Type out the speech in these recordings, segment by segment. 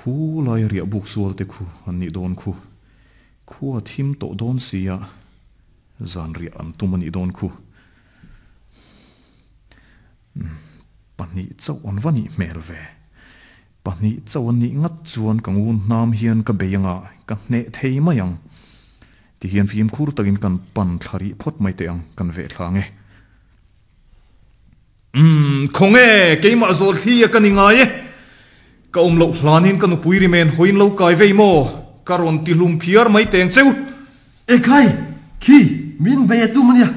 Khu laia riah buk sual te khu an nih dawn khu. Khua thim tawh dawn sia, zan riah an tum a nih dawn khu. Pahnih chauh an va nih hmel ve. Pahnih chauh an nih ngat chuan ka ngun hnam hian ka bei anga ka hneh thei mai ang. Tihian fimkhur takin kan pan thla rih phawt mai teh ang, kan veh thla ang e. Umm, khawnge, keimah zawl thli a ka ni ngai e. Ka awm loh hlanin ka nupui rimen hawiin lo kai vei maw? Ka rawn ti hlum phiar mai teng cheu. Ekhai, khi, min bei a tum a nia,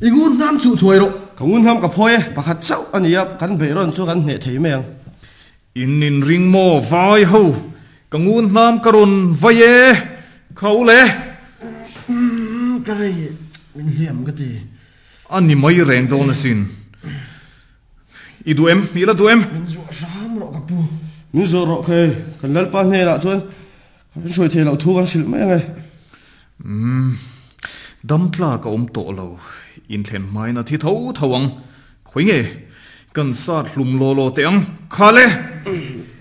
i ngun hnam chuh thuai rawh. Ka ngun hnam ka phawi e, pakhat chauh a nia, kan beih rawn chu kan hneh thei mai ang. In inring maw vai ho, ka ngun hnam ka rawn vai e, kha u le. Umm, ka rei, min hliam ka ti. A ni mai reng dawn asin. I duh em? I la duh em? Min zuah hram rawh ka pu. Min zuah rawh khei, kan Lalpa hnenah chuan kan hruai thei loh thu kan hrilh mai ang e. Umm, dam tlak a awm tawh lo, inthlen hmain a thi tho tho ang. Khawi nge? Kan sat hlum law law teh ang, kha le!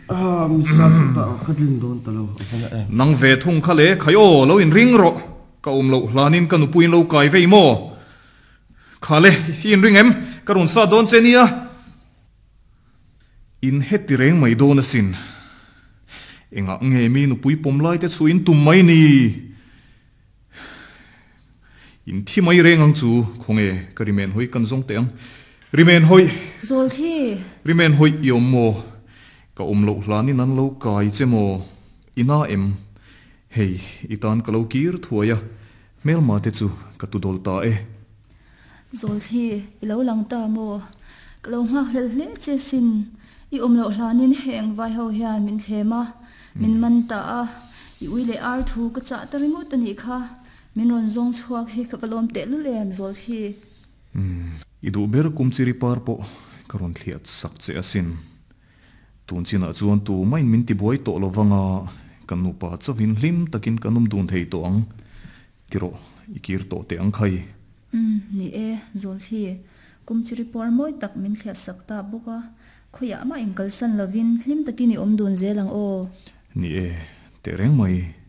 Ah, mi sat hlum ta ka tlin dawn ta lo, a va na em. Nang ve thung kha le, khai aw, lo inring rawh. Ka awm loh hlanin ka nupuiin lo kai vei maw? Kha le, i inring em? Ka rawn sat dawn che nia. In heti reng mai dawn asin. Engah nge mi nupui pawm lai te chu in tum mai ni? In thi mai reng ang chu, khawnge ka rimen hawi kan zawng teh ang. Rimen hawi! Zawl thi! Rimen hawi i awm maw? Ka awm loh hlanin an lo kai che maw? I na em? Hei, i tan ka lo kir thuai a, hmelma te chu ka tu dawl ta e. Zawlthli, i lo lang ta maw? Ka lo nghak hlel hle che sin. I awm loh hlanin heng vai ho hian min thlem a, min man ta a, i ui leh ar thu ka chah ta ringawt a nih kha. Min rawn zawng chhuak hi ka va lawm tehlul em, Zawlthli. Umm, i duh ber kum chiri par pawh ka rawn thliah sak che asin. Tun chinah chuan tu main min tibuai tawh lo vang a, kan nupa chauhin hlim takin kan awm dun thei tawh ang. Ti rawh, i kir tawh teh ang khai. Umm, ni e, Zawlthli, kum chi ripuar mawi tak min thliah sak ta bawk a, khawiah mah inkalsan lovin hlim takin i awm dun zel ang aw. Ni e, teh reng mai.